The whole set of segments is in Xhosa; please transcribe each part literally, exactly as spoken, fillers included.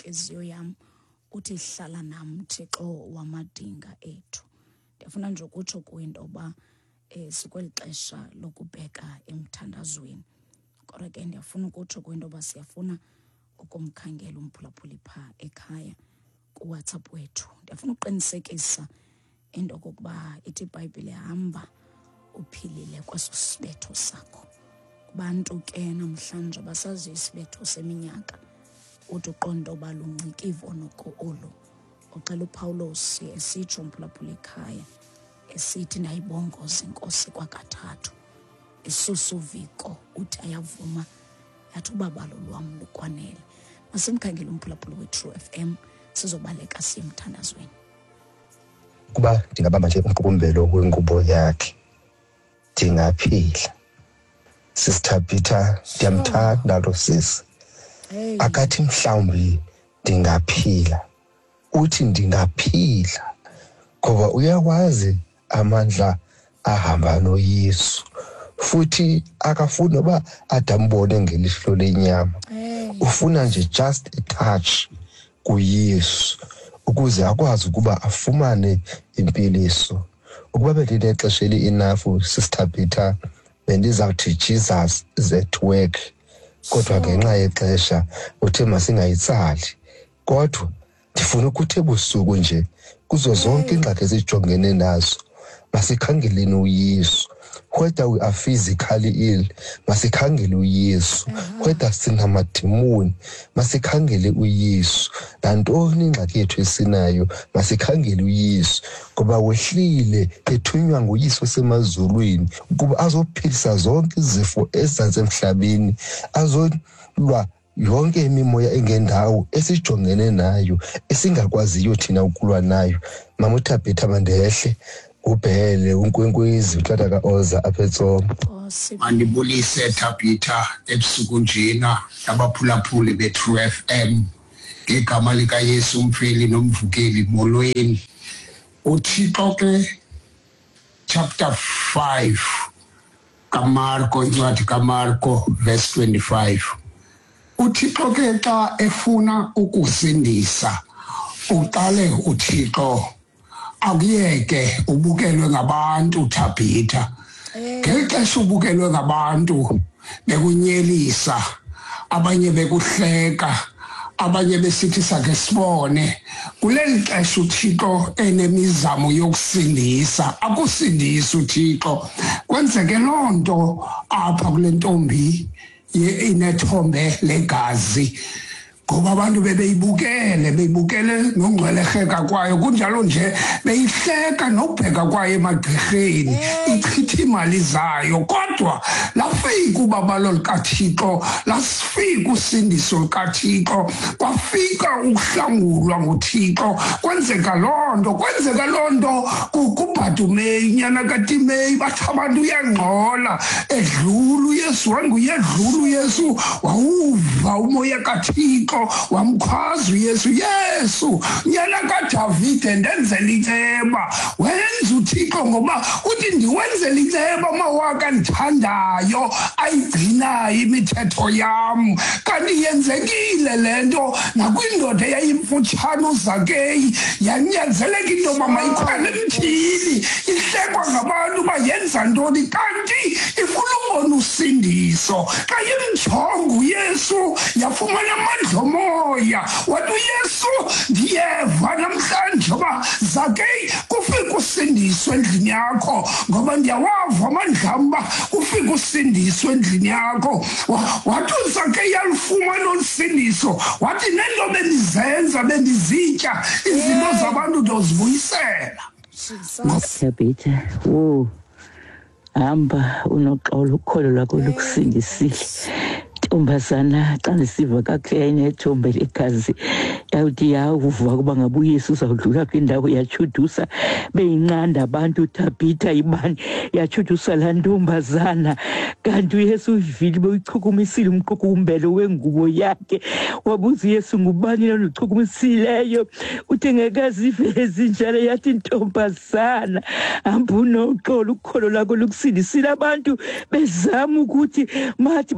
intliziyo yam, uthi hlala nam Thixo wamadinga ethu. Ndiyafuna nje ukutsho kuwe into yoba um sikweli xesha lokubheka emthandazweni, kodwa ke ndiyafuna ukutsho kuwe into yoba siyafuna ukumkhangela umphulaphuli phaa ekhaya kuWhatsApp wethu. Ndiyafuna ukuqinisekisa into okokuba ithi iBhayibhile hamba uphilile kweso sibetho sakho. Kubantu ke namhlanje abasaziyo isibetho seminyaka, uthi uqonde uba lungcikivo noko olu. Uxela uPawulos esitsho umphulaphuli ekhaya esithi ndayibongoza iNkosi kwakathathu isusa uviko, uthi ayavuma, yathi ubabalo lwam lukwanele. Masimkhangele umphulaphuli we-True F M, sizobaleka siye emthandazweni. Kuba ndingabamba nje umqukumbelo wengubo yakhe ndingaphila. Sister Peter, ndiyamthanda lo sisi. Akathi mhlawumbi ndingaphila, uthi ndingaphila ngoba uyakwazi amandla ahamba noYesu, futhi akafuni noba adambone ngelihlo lenyama, ufuna nje just a touch kuYesu ukuze akwazi ukuba afumane impiliso. Ukuba bendinexesha eli-enough, Sister Peter, bendizawuthi Jesus is at work, kodwa ngenxa yexesha uthe masingayitsali. Kodwa ndifuna ukuthi ebusuku nje kuzo zonke iingxaki esijongene nazo masikhangeleni uYesu. Whether we are physically ill, masikhangele uYesu. Whether sinamadimoni, masikhangele uYesu. Nantoni ingxaki yethu esinayo, masikhangele uYesu, ngoba wehlile ethunywa nguYesu osemazulwini ukuba azophilisa zonke izifo ezisemhlabeni, azolwa yonke imimoya engendawo esijongene nayo esingakwaziyo thina ukulwa nayo. Mama uThabitha, mandehle ubhele uNkwenkwezi utata kaOza apha eTsomo. Mandibulise Thabitha ebusuku njena nabaphulaphuli be-True F M ngegama likaYesu umfeli nomvukeli, molweni. UThixo ke chapter five kaMarko, incwadi kaMarko verse twenty-five. UThixo ke xa efuna ukusindisa uqale uThixo akuyeke ubukelwe ngabantu Thabitha. Ngeli xesha ubukelwe ngabantu bekunyelisa, abanye bekuhleka, abanye besithi sakhe sibone. Kuleli xesha uThixo enemizamo yokusindisa, akusindisi uThixo. Kwenzeke loo nto apha kule ntombi inethombe legazi, ngoba abantu bebeyibukele, beyibukele nongcwelerheka kwayo, kunjalo nje beyihleka nobheka kwayo emagqirheni, ichitha imali zayo. Kodwa lafika ubabalo lukaThixo, lasifika usindiso lukaThixo, kwafika ukuhlangulwa nguThixo. Kwenzeka loo nto, kwenzeka loo nto kuBhatumeyi unyana kaTimeyi. Bathi abantu uyangxola, edlula uYesu, wanguyedlula uYesu, wawuva umoya kaThixo, wamkhwaza uYesu, Yesu nyana kaDavide ndenzela inceba. Wenza uThixo ngoba uthi ndiwenzela inceba amawaka ndithandayo ayigcinayo imithetho yam. Kanti yenzekile le nto nakwindoda eyayimfutshane uZakeyi, yanyanzeleka into yoba mayikhwele emthini, ihlekwa ngabantu uba yenza ntoni, kanti ifuna ubona usindiso. Xa imjonga uYesu yafumana amandla omoya, wathi uYesu ndiyeva namhlanje uba Zakeyi kufika usindiso endlini yakho, ngoba ndiyawava amandla am uba kufika usindiso endlini yakho. Wathi uZakeyi alufumana olu sindiso, wathi nento bendizenza bendizitya izinto zabantu ndozibuyisela. Thabitha, wo hamba unoxolo, ukholo lwakho lukusindisile. Ntombazana, xa ndisiva kakuhle yayinethombe legazi, yawuthi yawuva ukuba ngaba uYesu uzawudlula kwindawo, yatshudusa beyinqanda abantu Thabitha ibani, yatshudusa laa ntombazana. Kanti uYesu uyivile beyichukumisile umqukumbelo wengubo yakhe. Wabuza uYesu, ngubani lona uchukumisileyo? Uthe ngekazive ezinjalo, yathi ntombazana hamba unoxolo, ukholo lwakho lukusindisile. Abantu bezama ukuthi mathi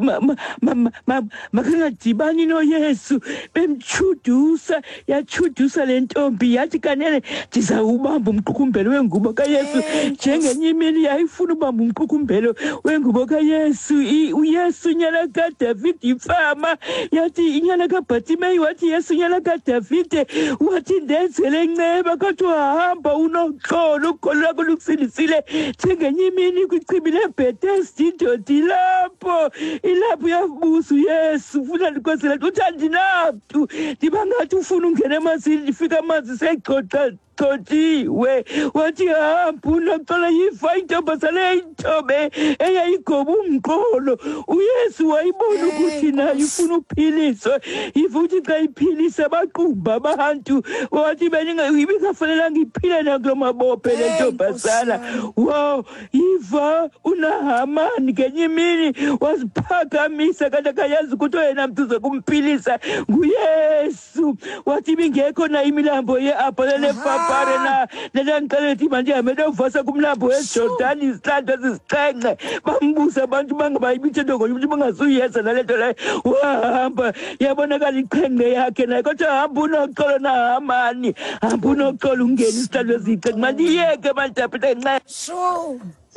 makangadibani noYesu. Bemchudusa, yachudusa le ntombi, yathi kanene ndizawubamba umqukumbelo wengubo kaYesu. Njengenye imini yayifuna ubamba umqukumbelo wengubo kaYesu. UYesu nyana kaDavid imfama, yathi inyana kaBhatimeyi, wathi Yesu nyana kaDavide, wathi ndenzele inceba. Kodwa hamba unoxolo, ukholo lwakho lukusindisile. Njengenye imini kwichibi leBhethesda, indoda ilapho ilapho yabuza uYesu, ufuna ndikwenzele uthi andinamntu, ndiba ngathi ufuna ungena emanzini, ndifika amanzi seyigxoxa gxothiwe. Wathi hamba unoxolo. Yiva intombazana eyintobe eyayigoba umqolo, uYesu wayibona ukuthi nayo ifuna uphiliswa. Yiva uthi xa iphilisa baqumba abantu, wathi ibingafanelanga iphile nakulo mabophe le ntombazana. Wow, yiva uNahamani ngenye imini waziphakamisa kanti akayazi ukuthi oyena mntu uzokumphilisa nguYesu. Wathi ibingekho na imilambo ye-Abhana neFapare na lelangixelela ukuthi mandihambe ndiyovasa kumlambo weJordani izihlandlo ezisixhenxe. Bambuza abantu bangabayimithetho ngoba ukuthi bangazuyenza nale nto leyo. Wahamba, yabonakala iqhenqe yakhe naye. Kodwa hamba unoxolo Nahamani, hamba unoxolo ungene izihlandlo eziyixhenxe. Mandiyeke manditaphethe nxa.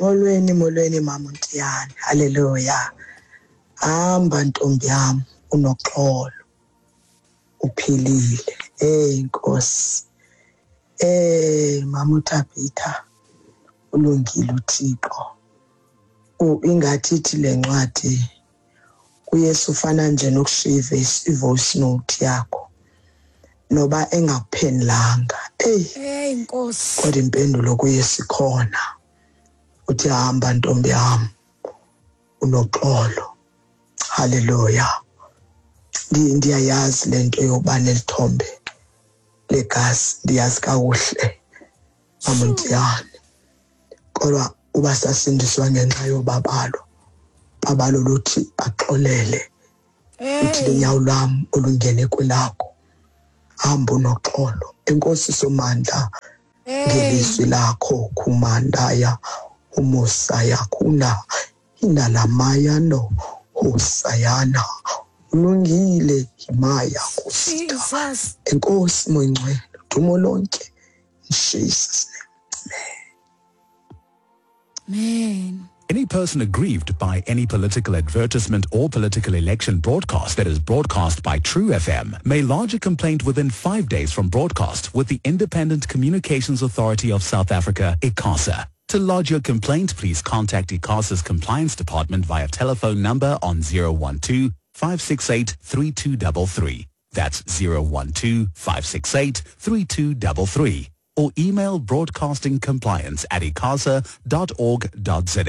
Molweni, molweni mama Ntiyane. Haleluya. Hamba ntombi yam unoxolo, uphilile. Hey Nkosi. Eh mama uThabitha, ulungile uThixo. Ingathi ithi le ncwadi kuYesu ufana nje nokushiya i-voice note yakho noba engakuphendulanga. Hey hey Nkosi, kodwa impendulo kuYesu ikhona. Uthi hamba ntombi yam unoxolo. Haleluya. Ndiyayazi lento yokuba nelithombe legazi, ndiyazi kakuhle mama Ntiyane. Kodwa uba sasindiswa ngenxa yobabalo, babalo luthi baxolele, uthi lenyawo lwam olungene kwelakho. Hamba unoxolo. Enkosi Somandla ngelizwi lakho khumandaya umusaya kuna inalamayano hosayana ulungile himaya kusita. Enkosi Moyingcwele, dumo lonke in Jesus name. Amen. Any person aggrieved by any political advertisement or political election broadcast that is broadcast by True F M may lodge a complaint within five days from broadcast with the Independent Communications Authority of South Africa, ICASA. To lodge your complaint, please contact ICASA's Compliance Department via telephone number on zero one two, five six eight, three two three three. That's zero one two, five six eight, three two three three. Or email broadcastingcompliance at icasa dot org dot za.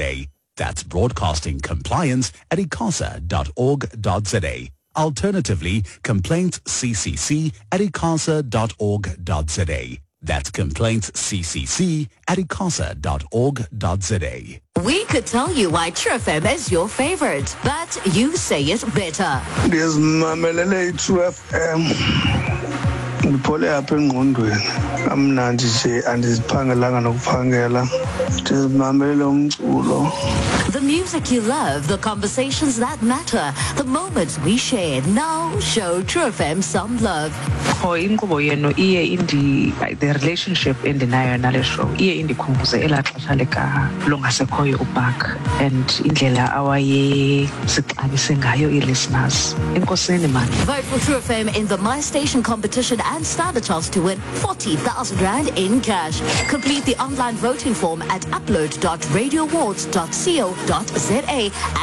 That's broadcastingcompliance at icasa dot org dot za. Alternatively, complaintsccc at icasa dot org dot za. That's complaintsccc at icasa dot org dot za. We could tell you why True F M is your favorite, but you say it better. Ndizimamelele i-True F M. Ndiphole apha engqondweni. Amnandi nje andiziphangelanga nokuphangela. Ndizimamelele umculo. The music you love, the conversations that matter, the moments we share. Now show True F M some love. Qho inkqubo yenu iye indi the relationship endinayo nale show iye indikhumbuze elaa xesha lika longasekhoyo uBark and indlela awayesixabise ngayo ii-listeners. Enkosini man. Vote for True F M in the My Station competition and stand a chance to win forty thousand rand in cash. Complete the online voting form at upload dot radio awards dot co dot za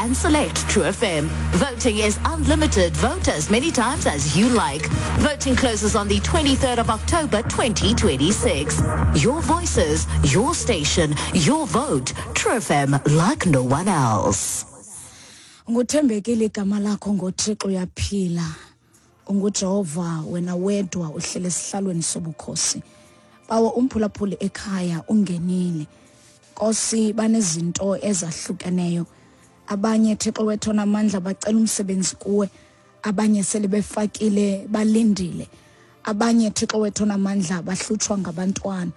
and select True F M. Voting is unlimited. Vote as many times as you like. Voting closes on the twenty-third of October twenty twenty-six. Your voices, your station, your vote. True F M like no one else. Nguthembekile igama lakho ngoThixo uyaphila. UnguJehova wena wedwa uhlele esihlalweni sobukhosi. Bawo umphulaphuli ekhaya ungenile. Nkosi banezinto ezahlukeneyo. Abanye Thixo wethu namandla bacela umsebenzi kuwe, abanye sele befakile balindile. Abanye Thixo wethu namandla bahlutshwa ngabantwana.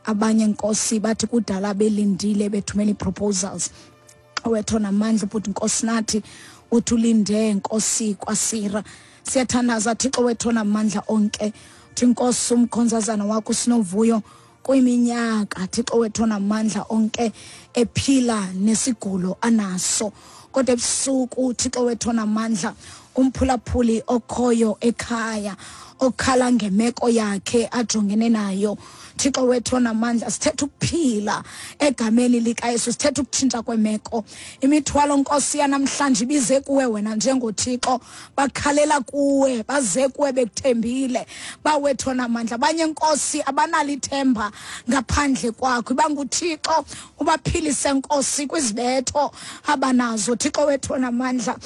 Abanye Nkosi bathi kudala belindile bethumela proposals. Wethu namandla ubuthi Nkosi nathi Uthi ulinde Nkosi kwasira. Siyathandaza Thixo wethu onamandla onke, uthi Nkosi umkhonzazana wakho Sinovuyo kwiminyaka Thixo wethu onamandla onke ephila nesigulo anaso, kodwa ebusuku Thixo wethu onamandla umphulaphuli okhoyo ekhaya okhala ngemeko yakhe ajongene nayo, Thixo wethu onamandla sithetha ukuphila egameni likaYesu, sithetha ukutshintsha kwemeko. Imithwalo Nkosi yanamhlanje ibize kuwe wena njengoThixo, bakhalela kuwe, baze kuwe bekuthembile, bawethu onamandla. Abanye Nkosi abanalo ithemba ngaphandle kwakho, ibanguThixo ubaphilise Nkosi kwizibetho abanazo. Thixo wethu onamandla,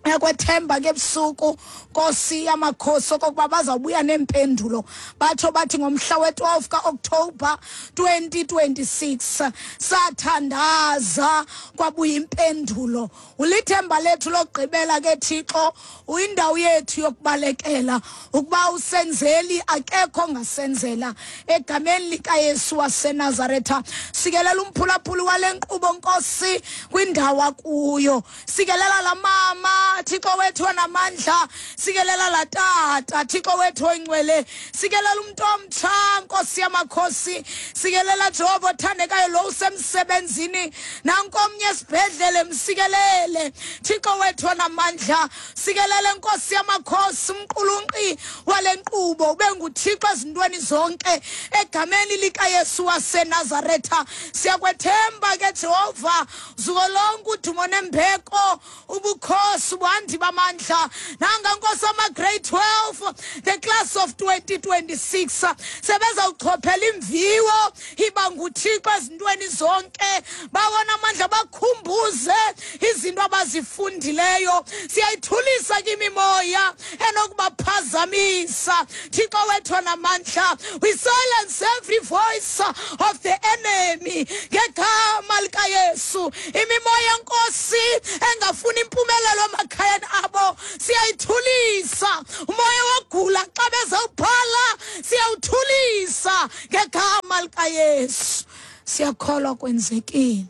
yakwethemba ke ebusuku Nkosi yamakhosi okokuba bazawubuya neempendulo, batsho bathi ngomhla we-twelve ka-October twenty twenty-six sathandaza kwabuya impendulo. Ulithemba lethu lokugqibela ke Thixo, uyindawo yethu yokubalekela, ukuba usenzeli akekho ongasenzela. Egameni likaYesu waseNazaretha, sikelela umphulaphuli wale nkqubo Nkosi kwindawo akuyo, sikelela la mama Thixo wethu onamandla, sikelela la tata Thixo wethu oyingcwele, sikelela umuntu omtsha Nkosi yamakhosi, sikelela Jehova othandekayo lo usemsebenzini nankomnye esibhedlele, msikelele Thixo wethu onamandla, sikelele Nkosi yamakhosi umqulunqi wale nkqubo, ube nguThixo ezintweni zonke egameni likaYesu waseNazaretha. Siyakwethemba ke Jehova, zuko lonke udumo nembeko, ubukhosi ubuhandi bamandla. Nanga Nkosi ama grade twelve, the class of twenty twenty-six, sebezawuchophela imviwo, iba nguThixo ezintweni zonke, bawona amandla bakhumbuze izinto abazifundileyo. Siyayithulisa ke imimoya enokubaphazamisa Thixo wethu onamandla. We silence every voice of the enemy ngegama likaYesu. Imimoya Nkosi engafuni impumelelo emakhayeni abo siyayithulisa. Umoya wogula xa bezawubhala siyawuthulisa ngegama likaYesu. Siyakholwa kwenzekile.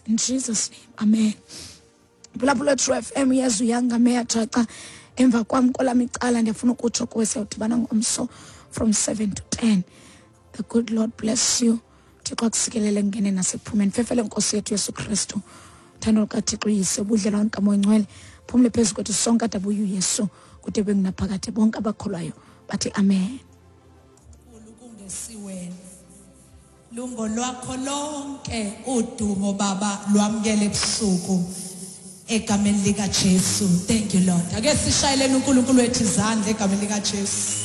In Jesus name, amen. Phulaphula True F M, Yezu yangameya jaca emva kwam kolam icala, ndiyafuna ukutsho kuwe siyawudibana ngomso from seven to ten. The good Lord bless you. Thixo akusikelele ngene nasekuphumeni. Fefele Nkosi yethu Yesu Kristu, uthando lukaThixo Uyise, ubudlelwane kaMoya Oyingcwele phumle phezu kwethu sonke adabuye uYesu kude bengunaphakade. Bonke abakholwayo bathi amen. Lungo lwakho lonke udumo Baba lwamkele ebusuku egameni lika Jesu. Thank you Lord. Ake sishayeleni uNkulunkulu wethu izandla egameni lika Jesu.